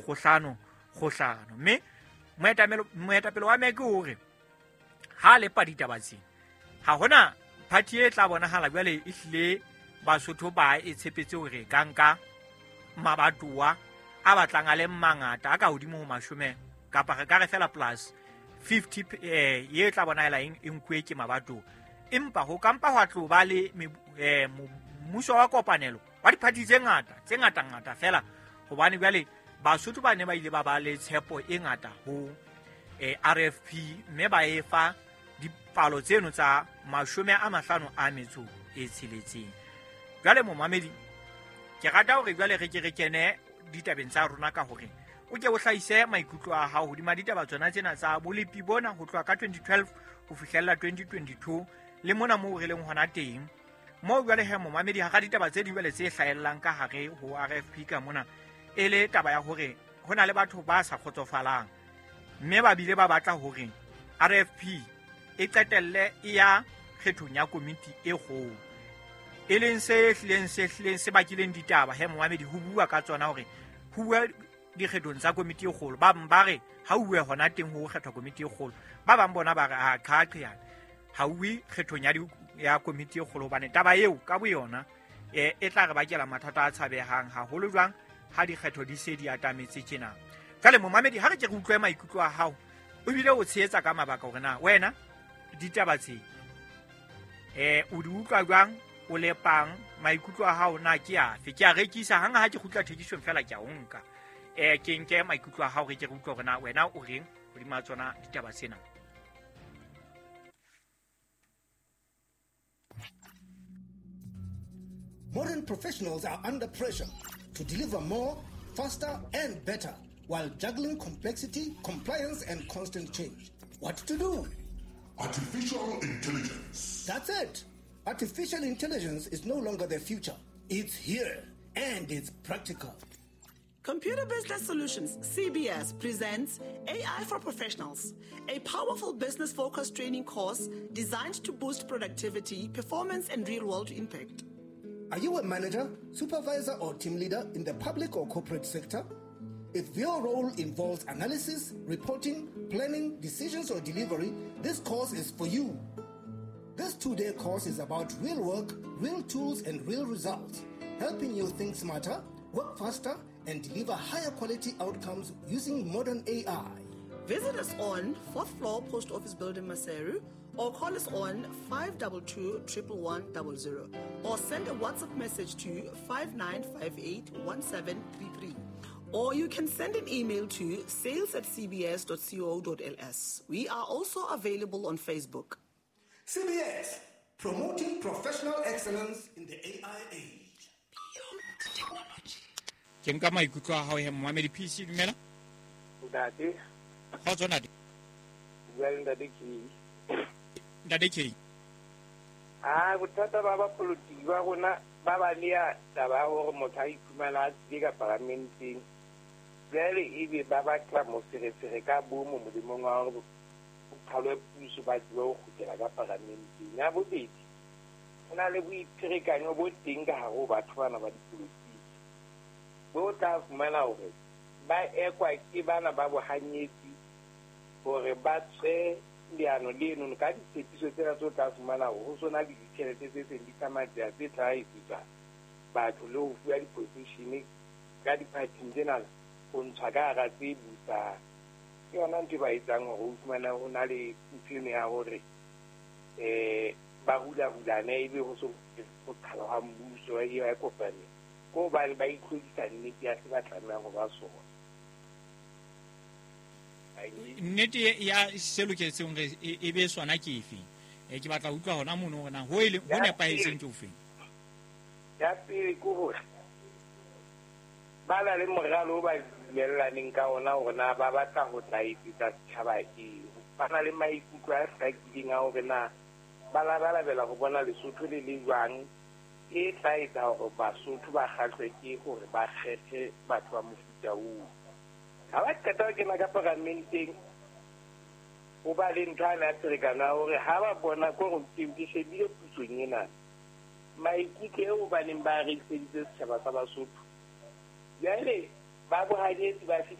dikgohlano kgohlano. Mme moetapele wa MEC o re ha lepa ditaba tsena ha hona party e tla bonahala jwale e hlile Basotho ba e tshepetse hore ka nka mabatowa a batlang a le mangata a ka hodimo ho 10 kapa re ka re fela plus 50 ye tla bonahala e nkuwe ke mabatowa. Empa ho kampa hwa tlo ba le mmuso wa kopanelo wa diphathi tse ngata tse ngata-ngata fela, hobane jwale Basotho ba ne ba ile ba ba le tshepo e ngata ho RFP mme ba e fa dipalo tseno tsa 56. Jwale momamedi, ke rata hore jwale re ke re kene ditabeng tsa rona ka hore o ke o hlahise maikutlo a hao hodima ditaba tsona tsena tsa bolepi bona ho tloha ka 2012 ho fihlella 2022 le mona moo re leng hona teng. Moo jwale he momamedi, hara ditaba tse ding jwale tse hlahellang ka hare ho RFP ka mona e le taba ya hore ho na le batho ba sa kgotsofalang mme ba bile ba batla hore RFP e qetelle e ya kgethong ya komiti e kgolo, e leng se hlileng se bakileng ditaba he momamedi ho bua ka tsona hore ho bua dikgethong tsa komiti e kgolo. Ba bang ba re ha uwe hona teng ho kgethwa komiti e kgolo, ba bang bona ba re a qhaqheyana ha uwe kgethong ya komiti e kgolo, hobane taba eo ka boyona e tla re bakela mathata a tshabehang haholo jwang ha dikgetho di se di atametse tjena. Jwale momamedi, ha re ke re utlwe maikutlo a hao o bile o tshehetsa ka mabaka hore na wena ditaba tse o di utlwa jwang, o lepang maikutlo a hao na ke afe. Ke a rekisa hang ha ke kgutla thekisong fela ke a o nka, ke nke maikutlo a hao re ke re utlwe hore na wena o reng hodima tsona ditaba tsena. Modern professionals are under pressure to deliver more, faster, and better while juggling complexity, compliance, and constant change. What to do? Artificial intelligence. That's it. Artificial intelligence is no longer the future. It's here, and it's practical. Computer Business Solutions, CBS, presents AI for Professionals, a powerful business-focused training course designed to boost productivity, performance, and real-world impact. Are you a manager, supervisor, or team leader in the public or corporate sector? If your role involves analysis, reporting, planning, decisions, or delivery, this course is for you. This 2-day course is about real work, real tools, and real results, helping you think smarter, work faster, and deliver higher quality outcomes using modern AI. Visit us on 4th floor Post Office Building, Maseru, or call us on 522 11100, or send a WhatsApp message to 5958 1733. Or you can send an email to sales@cbs.co.ls. We are also available on Facebook. CBS, promoting professional excellence in the AI age. Beyond technology. Ke nka maikutlo a hao he momamedi PC, dumela. Ntate. Kgotso ntate. Bua le ntate K. Ntate K. Bothata ba bapolitiki ba rona ba ba nea taba ya hore motho a iphumana a tsile ka paramenteng. Jwale ebe ba batla moferefere ka bomo molemong wa hore ho qhalwe puso ba tsebe ho kgutlela ka paramenteng. Ya bobedi, ho na le boipherekanyo bo teng ka hare ho batho bana ba dipolotiki. Bo tla fumana hore ba ekwa ke bana ba bohanyetsi hore ba tswe leano leno ka ditshepiso tsena tse o tla fumana hore ho sona le ditjhelete tse seng di tsamaya tse tla etsetswa batho le ho fuwa di-position ka di-party-ng tsena ho ntshwa ka hara tse busang. Ke yona ntho e ba etsang hore o fumana ho na le ntho eno ya hore ba hula-hulane ebe ho so ho qhalwa ha mmuso e ba kopane. Ke hobane ba itlhodisa nnete ya se ba tlamehang ho ba sona. Nnete ya se loketseng hore e be sona ke efe? Ke batla ho utlwa hona mono hore na ho nepahetseng ke ofeng. Ya pele ke hore ba na le moralo o ba dumellaneng ka ona hore na ba batla ho tla etsetsa setjhaba eng. Ba na le maikutlo a hlakileng a hore na ba labalabela ho bona Lesotho le le jwang, e tla etsa hore Basotho ba kgahlwe ke hore ba kgethe batho ba mofuta oo. Ha ba qeta ho kena ka paramenteng, ho ba le ntho ane ya pherekano ya hore ha ba bona ke hore ke shebile pusong ena, maikutlo eo ba neng ba rekiseditse setjhaba sa Basotho. Jwale ba bohanyetsi ba